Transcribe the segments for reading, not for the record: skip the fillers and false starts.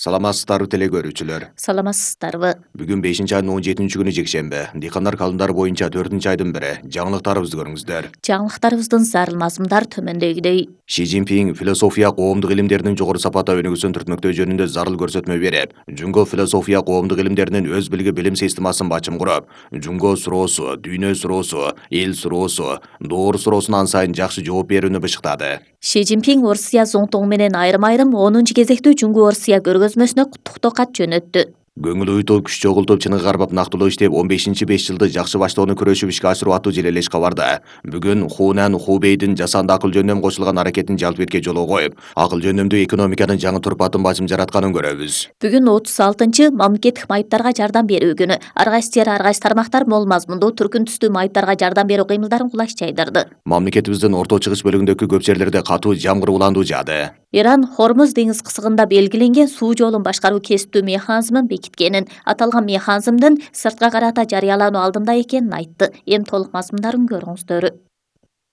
Саламатсыздарбы теле көрүүчүлөр. Саламатсыздарбы. Бүгүн 5-айдын 17-күнү жекшемби. Дыйкандар календарь боюнча 4-айдын бири. Жаңылыктарыбызды көрүңүздөр. Жаңылыктарыбыздын зарыл мазмундар төмөндөгүдөй. Ши Цзиньпин философия коомдук илимдеринин жогору сапатта өнүгүүсүн түртмөктөө жөнүндө зарыл көрсөтмө берип, Жунго философия коомдук илимдеринин өз билги билим системасын бачым куруп, Жунго суроосу, дүйнө суроосу, эл суроосу, доор суроосуна ансайын жакшы жооп берүүнү бышыктады. Ши Цзиньпин Орусия зоңтоңу менен айрым-айрым 10 кезектүү Жунго Орусия көргөзмөсүнө куттуктоо кат жөнөттү. Көңүл уютуп, күч чогултуп, чыныгы кармап нактылоо иштеп, 15-5 жылды жакшы баштоону күрөшүп ишке ашыруу аттуу желелеш кабарда. Бүгүн Хунан Хубейдин жасанды акыл жөндөм кошулган аракетин жалпы этке жолго коюп, акыл жөндөмдүү экономиканын жаңы турпатын бачым жаратканын көрөбүз. Бүгүн 36-чы мамлекеттик майыптарга жардам берүү күнү. Ар кайсы жер, ар кайсы тармактар мол мазмундуу түркүн түстүү майыптарга жардам берүү кыймылдарын кулаш жайдырды. Мамлекетибиздин орто чыгыш бөлүгүндөгү көп жерлерде катуу жамгыр уландуу жаады. Иран Хормуз деңиз кысыгында белгиленген суу жолун башкаруу кесиптүү механизмин бекиткенин, аталган механизмдин сыртка карата жарыялануу алдында экенин айтты. Эми толук мазмундарын көрүңүздөр.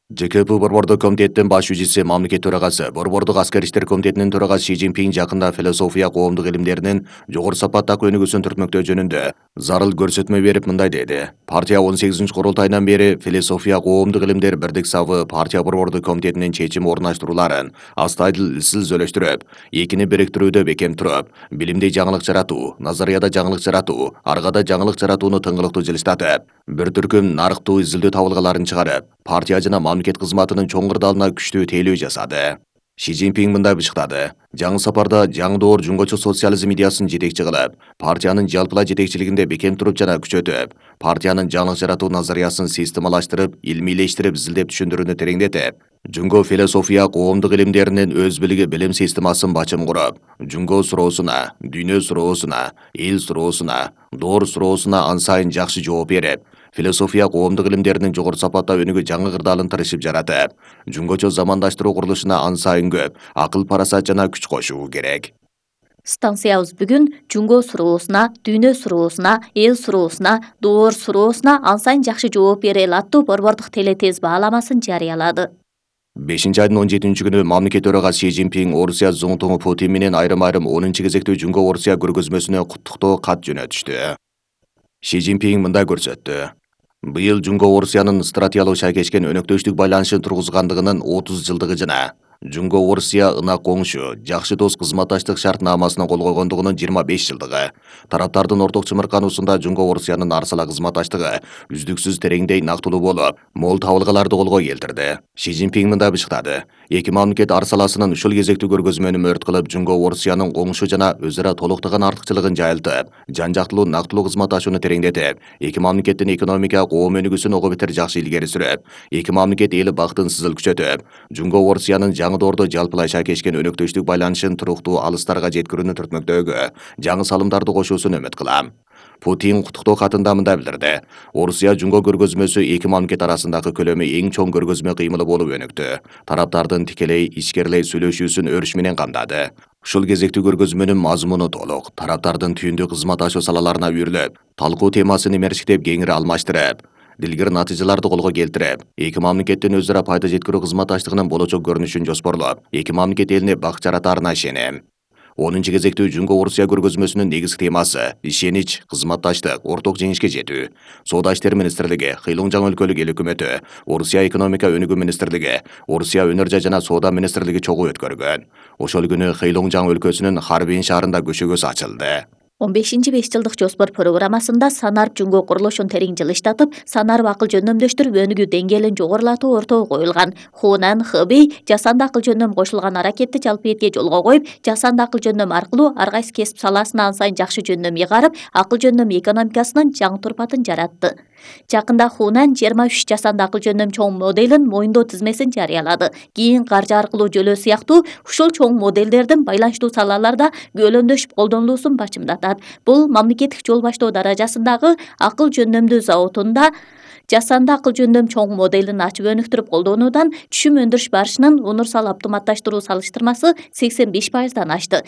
ЖКП Борбордук комитеттин баш жүзүчүсү, мамлекет төрагасы, Борбордук аскер иштер комитетинин төрагасы Ши Цзиньпин жакында философия коомдук илимдеринин жогору сапаттагы өнүгүүсүн түртмөктөө жөнүндө зарыл көрсөтмө берип мындай деди. Партия 18 курултайынан бери философия коомдук илимдер бирдик сабы партия Борбордук комитетинин чечим орундаштырууларын астайдыл изилдөштүрүп, экини бириктирүүдө бекем туруп, билимде жаңылык жаратуу, назарияда жаңылык жаратуу, аргада жаңылык жаратууну тыңгылыктуу жылыштатып, бир түркүм нарыктуу изилдөө табылгаларын чыгарып, партия жана мамлекет кызматынын чоң кырдаалына күчтүү тейлөө жасады. Ши Цзиньпин мындай бышыктады. Жаңы сапарда жаңы доор жунгочу социализм идеясын жетекчи кылып, партиянын жалпылай жетекчилигинде бекем туруп жана күчөтүп, партиянын жаңылык жаратуу назариясын системалаштырып, илмийлештирип, изилдеп түшүндүрүүнү тереңдетип, Жунго философия коомдук илимдеринин өз билги билим системасын бачым куруп, Жунго суроосуна, дүйнө суроосуна, эл суроосуна, доор суроосуна ансайын жакшы жооп берип, философия коомдук илимдеринин жогору сапатта өнүгүү жаңы кырдаалын тырышып жаратып, жунгочо замандаштыруу курулушуна ансайын көп акыл парасат жана күч кошуу керек. Станциябыз бүгүн Жунго суроосуна, дүйнө суроосуна, эл суроосуна, доор суроосуна ансайын жакшы жооп бере аттуу борбордук телетез бааламасын жарыялады. 5-айдын 17-күнү мамлекет төрагасы Ши Цзиньпин Орусия зоңтоңу Путин менен айрым-айрым 10 кезектүү Жунго Орусия көргөзмөсүнө куттуктоо кат жөнөтүштү. Ши Цзиньпин мындай көрсөттү. Быйыл Жунго Орусиянын стратегиялык шайкешкен өнөктөштүк байланышын тургузгандыгынын 30 жылдыгы жана Жунго Орусия ынак коңшу, жакшы дос кызматташтык шартнамасына кол койгондугунун 25 жылдыгы. Тараптардын орток чымыркануусунда Жунго Орусиянын арсала кызматташтыгы үздүксүз тереңдей нактылуу болуп, мол табылгаларды колго келтирди. Ши Цзиньпин мындай бышыктады. Эки мамлекет арсаласынын ушул кезектүү көргөзмөнү мөрөт кылып, Жунго Орусиянын коңшу жана өз ара толуктаган артыкчылыгын жайылтып, жан жактылуу нактылуу кызматташууну тереңдетип, эки мамлекеттин экономика, коом өнүгүүсүн ого бетер жакшы илгери сүрүп, эки мамлекет эли бактын сызыл күчөтүп, Жунго Орусиянын жаңы доордо жалпылай шайкешкен өнөктөштүк байланышын туруктуу алыстарга жеткирүүнү түртмөктөгү жаңы салымдарды кошуусун үмүт кылам. Путин куттуктоо катында мындай билдирди. Орусия Жунго көргөзмөсү эки мамлекет арасындагы көлөмү эң чоң көргөзмө кыймылы болуп өнүктү. Тараптардын тикелей, ичкерлей сүйлөшүүсүн өрүш менен камдады. Ушул кезектүү көргөзмөнүн мазмуну толук, тараптардын түйүндүү кызматташуу салаларына үйрүлүп, талкуу темасын имерчиктеп кеңири алмаштырып, дилгир натыйжаларды колго келтирип, эки мамлекеттин өз ара пайда жеткирүү кызматташтыгынын болочок көрүнүшүн жоспорлоп, эки мамлекет элине бак жаратаарына ишенем. 10 кезектүү Жунго Орусия көргөзмөсүнүн негизги темасы ишенич, кызматташтык, орток жеңишке жетүү. Соода иштер министрлиги, Хэйлунжан өлкөлүк эл өкмөтү, Орусия экономика өнүгүү министрлиги, Орусия өнөр жай жана соода министрлиги чогуу өткөргөн. Ошол күнү Хэйлунжан өлкөсүнүн Харбин шаарында көшөгөсү ачылды. 15-5 жылдык жоспор программасында санарып Жунго курулушун терең жылыштатып, санарып акыл жөндөмдөштүрүп өнүгүү деңгээлин жогорулатуу ортого коюлган. Хунан Хэбэй жасанды акыл жөндөм кошулган аракетти жалпы этке жолго коюп, жасанды акыл жөндөм аркылуу ар кайсы кесип саласына ансайын жакшы жөндөм ыйгарып, акыл жөндөм экономикасынын жаңы турпатын жаратты. Жакында Хунан 23 жасанды акыл жөндөм чоң моделин моюндоо тизмесин жарыялады. Кийин каржы аркылуу жөлөө сыяктуу ушул чоң моделдердин байланыштуу салаларда көөлөндөшүп колдонулуусун бачымдатат. Бул мамлекеттик жол баштоо даражасындагы акыл жөндөмдүү заводунда жасанды акыл жөндөм чоң моделин ачып өнүктүрүп колдонуудан түшүм өндүрүш барышынын унурсал автоматташтыруу салыштырмасы 85%дан ашты.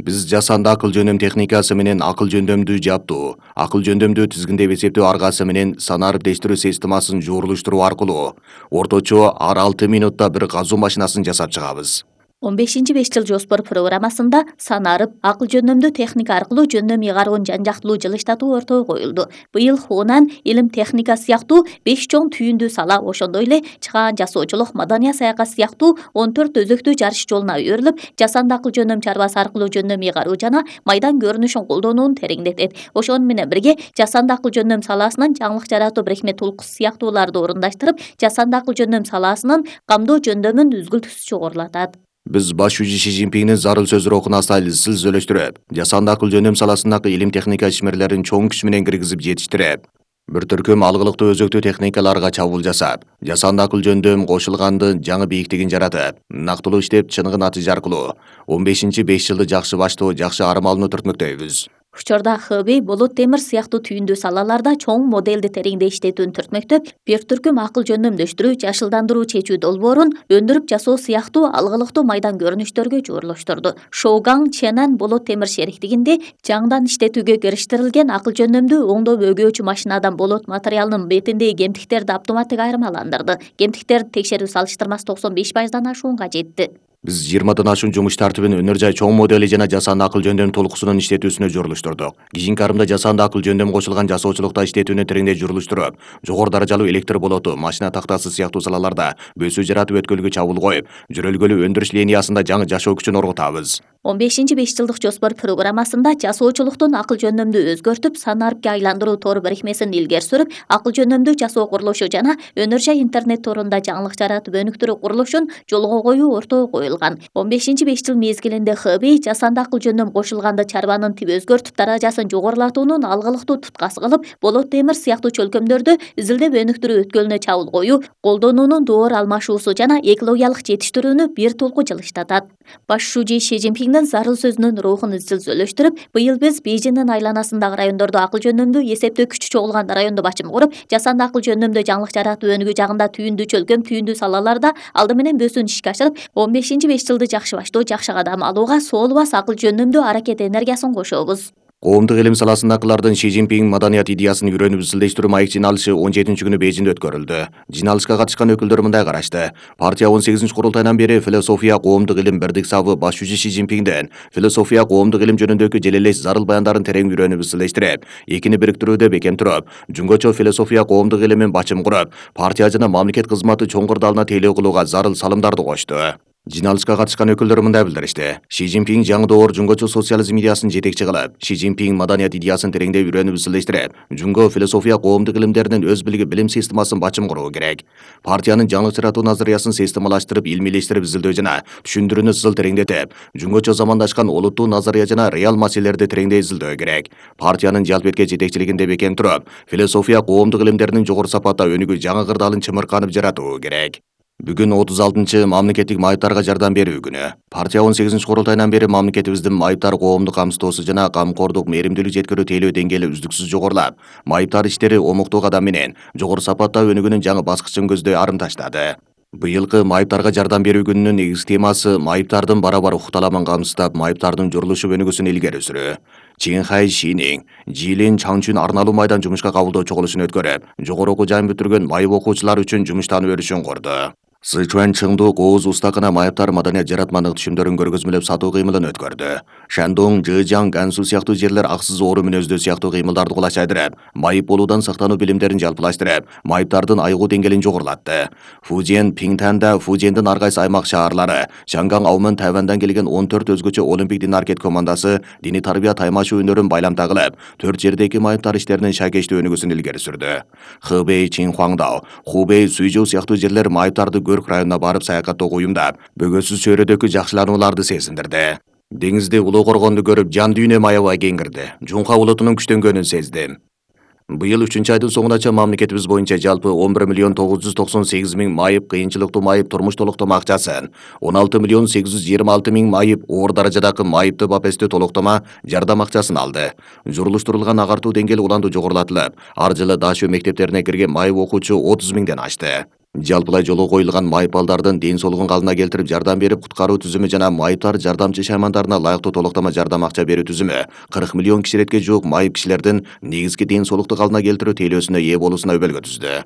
Биз жасанды акыл жөндөм техникасы менен акыл жөндөмдүү жаптуу, акыл жөндөмдүү тизгиндеп эсептөө аргасы менен санарып дештирүү системасын жуурулуштуруу аркылуу орточо ар 6 минутта бир казуу машинасын жасап чыгабыз. 15 жыл жоспор программасында санарып, акыл жөнөмдүү техника аркылуу жөндөм ыйгаруун жан-жактылуу жылыштатуу ортого коюлду. Быйыл Хунан илим техника сыяктуу 5 чоң түйүндүү сала, ошондой эле чыгаан жасоочулук, маданий саякат сыяктуу 14 өзөктүү жарыш жолуна өбөрүлүп, жасанды акыл жөнөм чарбасы аркылуу жөндөм ыйгаруу жана майдан көрүнүшүн колдонууну тереңдетет. Ошону менен бирге жасанды акыл жөндөм саласынын жаңылык жаратуу бирикме тулкуусу сыяктууларды орундаштырып, жасанды акыл жөндөм саласынын камдоо жөндөмүн үзгүлтүсүз жогорулатат. Биз баш жүзү Ши Цзиньпиңдин зарыл сөздөрү асайыл сүйлөштүрүп, жасанды акыл жөндөм саласындагы илим техника ишмерлерин чоң күч менен киргизип жетиштирип, бир түркүм алгылыктуу өзөктүү техникаларга чабуул жасап, жасанды акыл жөндөм кошулгандын жаңы бийиктигин жаратып, нактылуу иштеп, чыныгы натыйжа аркылуу 15 жылды жакшы баштоо, жакшы арым алууну түртмөктөйбүз. Учурда Хэбэй, болот темир сыяктуу түйүндүү салаларда чоң моделди тереңде иштетүүнү түртмөктөп, бир түркүм акыл жөндөмдөштүрүү, жашылдандыруу чечүү долбоорун өндүрүп жасоо сыяктуу алгылыктуу майдан көрүнүштөргө жуурулуштурду. Шоугаң Ченан болот темир шериктигинде жаңдан иштетүүгө кириштирилген акыл жөндөмдүү оңдоп өгөөчү машинадан болот материалынын бетиндеги кемтиктерди автоматтык айырмаландырды. Кемтиктерди текшерүү салыштырмасы 95%дан ашуунга жетти. Биз 20 ашуун жумуш тартибин өнөр жай чоң модели жана жасанды акыл жөндөм толкусунун иштетүүсүнө журулуштурдук. Кийинки арымда жасанды акыл жөндөм кошулган жасоочулукта иштетүүнү тереңдей журулуштуруп, жогору даражалуу электр болоту, машина тактасы сыяктуу салаларда бөсүү жаратып өткөлгө чабуул коюп, жүрөлгөлүү өндүрүш линиясында жаңы жашоо күчүн оргутабыз. 15 жылдык жоспор программасында жасоочулуктун акыл жөндөмдү өзгөртүп, санарпке айландыруу тор бирикмесин илгери сүрүп, акыл жөндөмдүү жасоо курулушу жана өнөр жай интернет торунда жаңылык жаратып өнүктүрүү курулушун жолго коюу ортого коюлган. 15 жыл мезгилинде Хэбэй жасанды акыл жөндөм кошулганды чарбанын тип өзгөртүп, даражасын жогорулатуунун алгылыктуу туткасы кылып, болот темир сыяктуу чөлкөмдөрдө изилдеп өнүктүрүү өткөлүнө чабуул коюу, колдонуунун доор алмашуусу жана экологиялык жетиштирүүнү бир толку жылыштатат. Баш шужи Ши Цзиньпиңдин зарыл сөзүнүн рухун изчил сүйлөштүрүп, быйыл биз Бейжиңдин айланасындагы райондордо акыл жөндөмдүү эсептөө күчү чогулган райондо бачым куруп, жасанды акыл жөндөмдө жаңылык жаратуу өнүгүү жагында түйүндүү чөлкөм, түйүндүү салаларда алды менен бөсүүнү ишке ашырып, 15 жылды жакшы баштоо, жакшы кадам алууга соолубас акыл жөндөмдүү аракет энергиясын кошобуз. Коомдук илим саласындагылардын Ши Цзиньпиң маданият идеясын үйрөнүп изилдештирүү маек жыйналышы 17 күнү Бейжиңде өткөрүлдү. Жыйналышка катышкан өкүлдөр мындай карашты. Партия 18 курултайынан бери философия, коомдук илим бирдик сабы баш жүзү Ши Цзиньпиңден философия, коомдук илим жөнүндөгү желелеш зарыл баяндарын терең үйрөнүп изилдештирип, экини бириктирүүдө бекем туруп, жөнгөчө философия, коомдук илимин бачым куруп, партия жана мамлекет кызматы чоң кырдаалына тейлөө кылууга зарыл салымдарды кошту. Жыйналышка катышкан өкүлдөр мындай билдиришти. Ши Цзиньпиң жаңы доор жөнгөчө социализм идеясын жетекчи кылып, Ши Цзиньпиң маданият идеясын тереңдей үйрөнүп изилдештирип, жөнгө философия, коомдук илимдеринин өз билги билим системасын бачым куруу керек. Партиянын жаңылык жаратуу назариясын системалаштырып, илмийлештирип изилдөө жана түшүндүрүүнү сызыл тереңдетип, жөнгөчө замандашкан олуттуу назария жана реал маселелерди тереңдей изилдөө керек. Партиянын жалп эткен жетекчилигинде бекем туруп, философия, коомдук илимдеринин жогору сапатта өнүгүү жаңы кырдаалын чымырканып жаратуу керек. Бүгүн 36 мамлекеттик майыптарга жардам берүү күнү. Партия 18 курултайынан бери мамлекетибиздин майыптар коомдук камсыздоосу жана камкордук мээримдүүлүк жеткирүү тейлөө деңгээли үздүксүз жогорулап, майыптар иштери омуктуу кадам менен жогору сапатта өнүгүүнүн жаңы баскычын көздөй арым таштады. Быйылкы майыптарга жардам берүү күнүнүн негизги темасы майыптардын бара-бар укукталамын камсыздап, майыптардын журулушу өнүгүүсүн илгери сүрүү. Чинхай Шиниң Жилин Чаңчүн арналуу майдан жумушка кабылдоо чогулушун өткөрүп, жогору окуу жайын бүтүргөн майып окуучулар үчүн жумуштан өрүшүн курду. Сычуан Чыңдуу Кооз устакына майыптар маданият жаратмандык түшүмдөрүн көргөзмөлөп сатуу кыймылын өткөрдү. Шандong, Жыжаң, Гансу сыяктуу жерлер аксыз оору мүнөздүү сыяктуу кыймылдарды кулачайдырып, майып болуудан сактануу билимдерин жалпылаштырып, майыптардын айыгуу деңгээлин жогорулатты. Фужен, Пиңтанда, Фужендин ар кайсы аймак шаарлары, Чанган, Аумын, Тайвандан келген 14 өзгөчө олимпик дин аракет командасы диний тарбия таймашуу өнөрүн байламта кылып, 4 жердеги майыптар иштеринин шайкештүү өнүгүүсүн илгери сүрдү. Хэбэй, Чинхуаңдау, Хубэй, Суйжоу сыяктуу жерлер майыптарды Көрк районуна барып саякаттоого уюмдап, бөгөсүз чөйрөдөгү жакшыланууларды сезиндирди. Деңизде улуу коргонду көрүп, жан дүйнөм аябай кеңирди. Жунха улутунун күчтөнгөнүн сездим. Быйыл 3-айдын соңунача мамлекетибиз боюнча жалпы 11.998.000 майып кыйынчылыктуу майып турмуш толуктома акчасын, 16.826.000 майып оор даражадагы майыпты бапестүү толуктома жардам акчасын алды. Журулуштурулган агартуу деңгээли уланду жогорулатылып, ар жылы Дашөө мектептерине кирген майып окуучу 30.000ден ашты. Жалпылай жолго коюлган майыпалдардын ден соолугун калыбына келтирип жардам берип куткаруу түзүмү жана майыптар жардамчы шаймандарына лайыктуу толуктама жардам акча берүү түзүмү 40 миллион киширетке жуук майып кишилердин негизги ден соолукту калыбына келтирүү тейлөөсүнө ээ болуусуна өбөлгө түздү.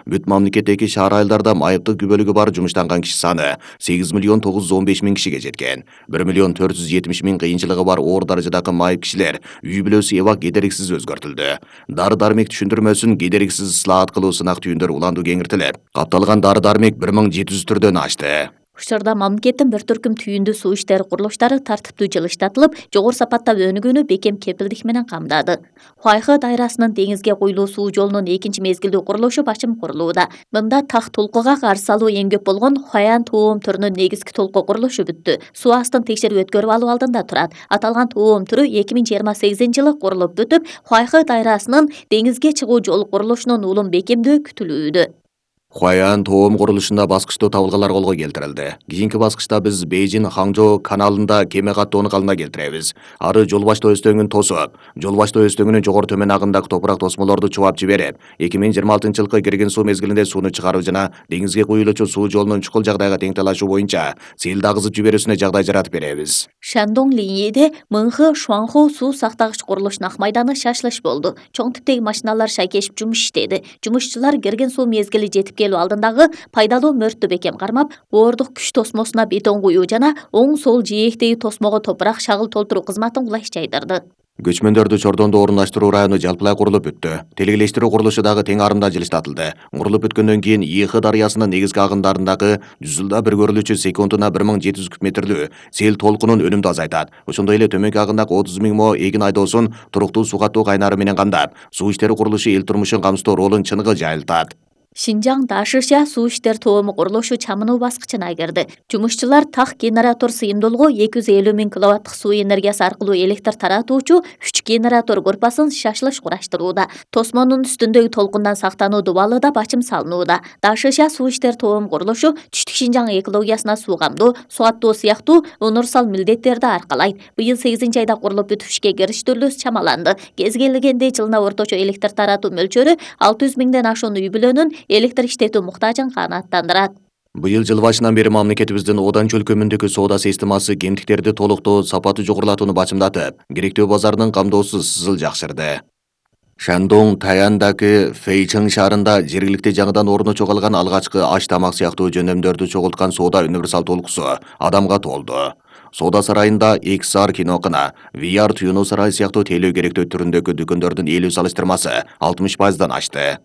Бүт мамлекеттеги шаар айылдарда майыптык күбөлүгү бар жумуштанган киши саны 8 миллион 915 миң кишиге жеткен. 1 миллион 470 миң кыйынчылыгы бар оор даражадагы майып кишилер үй бүлөсү эбак кедериксиз өзгөртүлдү. Дары-дармек түшүндүрмөсүн кедериксиз ысылаат кылуу сынак түйүндөр уланду кеңиртилип, капталган дары-дармек 1700 түрдөн ашты. Учурда мамлекеттин бир түркүм түйүндүү суу иштери курулуштары тартиптүү жылыштатылып, жогору сапатта өнүгүүнү бекем кепилдик менен камдады. Хуайхы дайрасынын деңизге куюлуу суу жолунун экинчи мезгилдүү курулушу башым курулууда. Мында так толкуга каршы алуу эң көп болгон Хуаян тоом түрүнүн негизги толку курулушу бүттү. Суу астын текшерип өткөрүп алуу алдында турат. Аталган тоом түрү 2028-жылы курулуп бүтүп, Хуайхы дайрасынын деңизге чыгуу жол курулушунун улам бекемдөө күтүлүүдө. Хуаян тоом курулушунда баскычтуу табылгалар колго келтирилди. Кийинки баскычта биз Бейжин-Хаңжоо каналында кеме каттоону калыбына келтиребиз. Ары жол баштоо өстөңүн тосуп, жол баштоо өстөңүнүн жогору төмөн агындагы топурак тосмолорду чубап жиберип, 2026-жылкы кирген суу мезгилинде сууну чыгаруу жана деңизге куюлуучу суу жолунун чукул жагдайга тең талашуу боюнча сел агызып жиберүүсүнө жагдай жаратып беребиз. Шандong линейде Мыңхы Шуанху суу сактагыч курулушунун ак майданы шашылыш болду. Чоң типтеги машиналар шайкешип жумуш иштеди. Жумушчулар кирген суу мезгили жетип келүү алдындагы пайдалуу мөрттү бекем кармап, боордук күч тосмосуна бетон куюу жана оң-сол жээктеги тосмого топурак шагыл толтуруу кызматын кулай жайдырды. Көчмөндөрдү чордондо орундаштыруу району жалпылай курулуп бүттү. Тилгелештирүү курулушу дагы тең арымда жылыштатылды. Курулуп бүткөндөн кийин Ийхы дарыясынын негизги агындарындагы 100 жылда бир көрүлүүчү секундуна 1700 куб метрлүү сел толкунун өнүмдү азайтат. Ошондой эле төмөнкү агындагы 30 миң мо эгин айдоосун туруктуу суу каттоо кайнары менен камдап, суу иштери курулушу эл турмушун камсыздоо ролун чыныгы жайылтат. Шинжаң Дашиша суу иштер тоому курулушу чамынуу баскычына кирди. Жумушчулар так генератор сыйымдуулугу 250 миң киловаттык суу энергиясы аркылуу электр таратуучу 3 генератор группасын шашылыш кураштырууда. Тосмонун үстүндөгү толкундан сактануу дубалы да бачым салынууда. Дашиша суу иштер тоому курулушу Түштүк Шинжаң экологиясына суу камдоо, суу аттоо сыяктуу универсал милдеттерди аркалайт. Быйыл 8-айда курулуп бүтүп ишке кириштирүүсү чамаланды. Кез келгенде жылына орточо электр таратуу мөлчөрү 600 миңден ашуун үй бүлөнүн электр иштетүү муктажын канааттандырат. Быйыл жыл башынан бери мамлекетибиздин Одан чөлкөмүндөгү соода системасы кемтиктерди толуктоо, сапаты жогорулатууну бачымдатып, керектөө базардын камдоосу сызыл жакшырды. Шандong Таяндагы Фэйчэн шаарында жергиликти жаңыдан орну чогалган алгачкы аш тамак сыяктуу жөнөмдөрдү чогулткан соода универсал толкусу адамга толду. Соода сарайында XR кинокына, VR туюну сарай сыяктуу тейлөө керектөө түрүндөгү дүкөндөрдүн ээлүү салыштырмасы 60%дан ашты.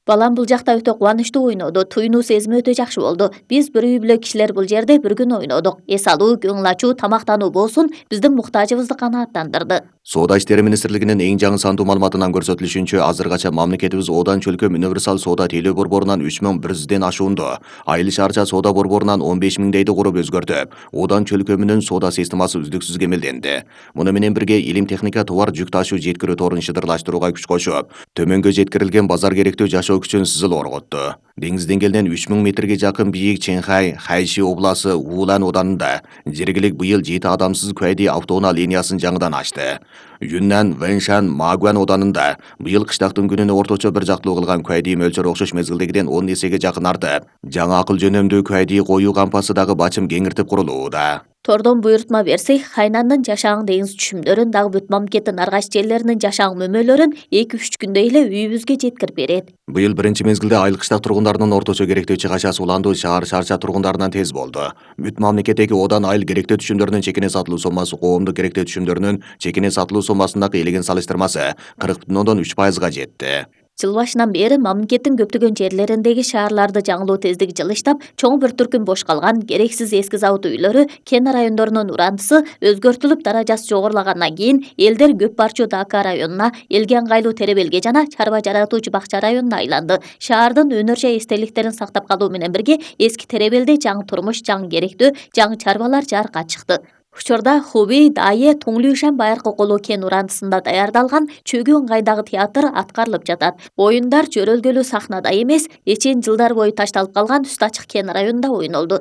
Балам бул жакта өтө кубанычтуу ойноду. Туйнуу сезими өтө жакшы болду. Биз бир үй бүлө кишилер бул жерде бір күн ойнодук. Эс алуу, көңүл ачуу, тамактануу болсун, биздин муктажыбызды канааттандырды. Соода иштери министрлигинин эң жаңы сандуу маалыматынан көрсөтүлүшүнчө, азыркача мамлекетибиз Одан чөлкөм универсал соода тейлөө борборунан 3100ден ашуунду, айыл шаарча соода борборунан 15 миңдейди куруп өзгөртүп, Одан чөлкөмүнүн соода системасы үздүксүз кемелденди. Муну менен бирге илим техника товар жүк ташуу жеткирүү торун шыдырлаштырууга күч кошуп, төмөнгө жеткирилген базар керектүү жашоо күчүн сызыл орготту. Деңиз деңгээлинен 3000 метрге жакын бийик Чэнхай, Хайши обласы Вулан оданында жергилик быйыл 7 адамсыз Куайди автоунаа линиясын жаңыдан ачты. Юннан Вэншан Магуан оданында быйыл кыштактын күнүнө орточо бир жактылуу кылган Куайди мөлчөрү окшош мезгилдегиден 10 эсеге жакын артып, жаңы акыл жөнөмдүү Куайди коюу кампасы дагы бачым кеңиртип курулууда. Тордон буйрутма берсек, Хайнандын жашаң деңиз түшүмдөрүн дагы бүт мамлекеттин аргайч жерлеринин жашаң мөмөлөрүн 2-3 күндө эле үйүбүзгө жеткирип берет. Быйыл биринчи мезгилде айыл кыштак тургундарынын орточо керектөө чыгачасы уландуу шаар шарча тургундарынан тез болду. Бүт мамлекеттеги Одан айыл керектөө түшүмдөрүнүн чекине сатылуу соммасы коомдук керектөө түшүмдөрүнүн чекине сатылуу соммасындагы элеген салыштырмасы 40,3%га жетти. Жыл башынан бери мамлекеттин көптөгөн жерлериндеги шаарларды жаңылоо тездиги жылыштап, чоң бір түркүм бош калган керексиз эски завод үйлөрү, кен райондорунун урандысы өзгөртүлүп даражасы жогорулагандан кийин элдер көп барчу Дака районуна, элге ыңгайлуу Теребелге жана чарба жаратуучу Бакча районуна айланды. Шаардын өнөр жай эстеликтерин сактап калуу менен бирге эски Теребелде жаңы турмуш, жаңы керектөө, жаңы чарбалар жарыкка чыкты. Учурда Хубей, Дайе, Туңлюшан байыркы колуу кен урандысында даярдалган чөгүү ыңгайдагы театр аткарылып жатат. Оюндар жөрөлгөлүү сахнада эмес, эчен жылдар бою ташталып калган үстү ачык кен районунда ойнолду.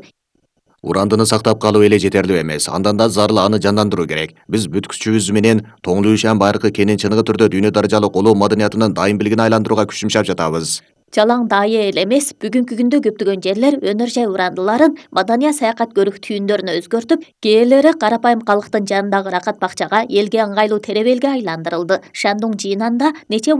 Урандыны сактап калуу эле жетерлүү эмес, андан да зарыл аны жандандыруу керек. Биз бүт күчүбүз менен Туңлюшан байыркы кенин чыныгы түрдө дүйнө даражалык колуу маданиятынын дайым билигине айландырууга күч жумшап жатабыз. Жалаң дайы эле эмес, бүгүнкү күндө көптөгөн жерлер өнөр жай урандыларын маданий саякат көрүк түйүндөрүнө өзгөртүп, кээделери карапайым калктын жанындагы ырахат бакчага элге ыңгайлуу теребелге айландырылды. Шандун жыйынында нече